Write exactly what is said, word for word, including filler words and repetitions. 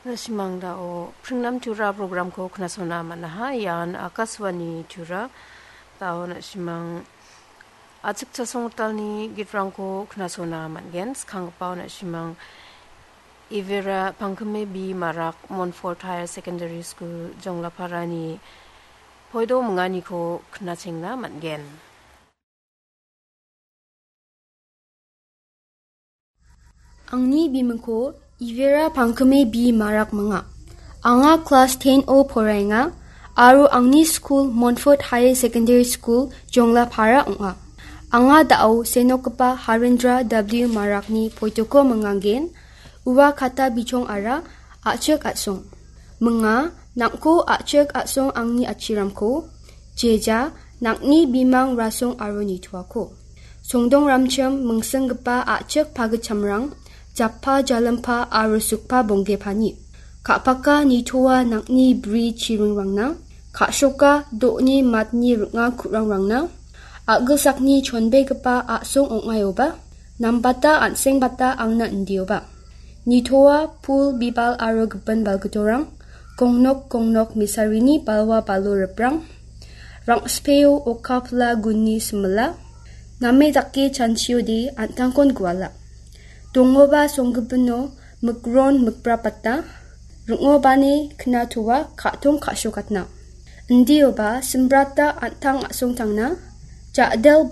Na·simang dao Pringnam Tura programko knasona man·aha. Ian Akaswani Tura. Dao na·simang achikchasong gitalni gitrangko knasona man·gen. Skanggipao na·simang Ivera Pangkime B Marak Montfort Higher Secondary School Jonglaparani poido minganiko knachengna man·gen. Angni bimingko Ivera Pangkime B Marak minga. Anga klas ten o poraenga aro angni skul Montfort Higher Secondary School Jonglapara ong·a. Anga da·o senokgipa Harendra W Marakni poitoko mingangen, ua kata bichongara a·chik a·song. Minga, nang·ko a·chik a·song angni atchiramko, jeja, nang·ni bimang rasong aro nitoako. Songdongramchim mingsinggipa a·chik pagitchamrang, jappa jalimpa aro sukpa bonggepani. Ka·paka nitoa nang·ni bri chiringrangna, ka·shoka do·ni matni ring·a ku·rangrangna, a·gilsakni chonbegipa a·song ong·aioba, nambata an·sengbata angna indioba. Nitoa pul bibal aro gipin balgitorang, gongnok gongnok misarini balwa balo riprang, rang·speo okapla gunni simila, name dake chanchiode an·tangkon guala. Dongoba songgipino mikron mikbrapata, ring·obani knatoa ka·tong ka·sokatna. Indioba simbrata an·tang a·songtangna, ja·del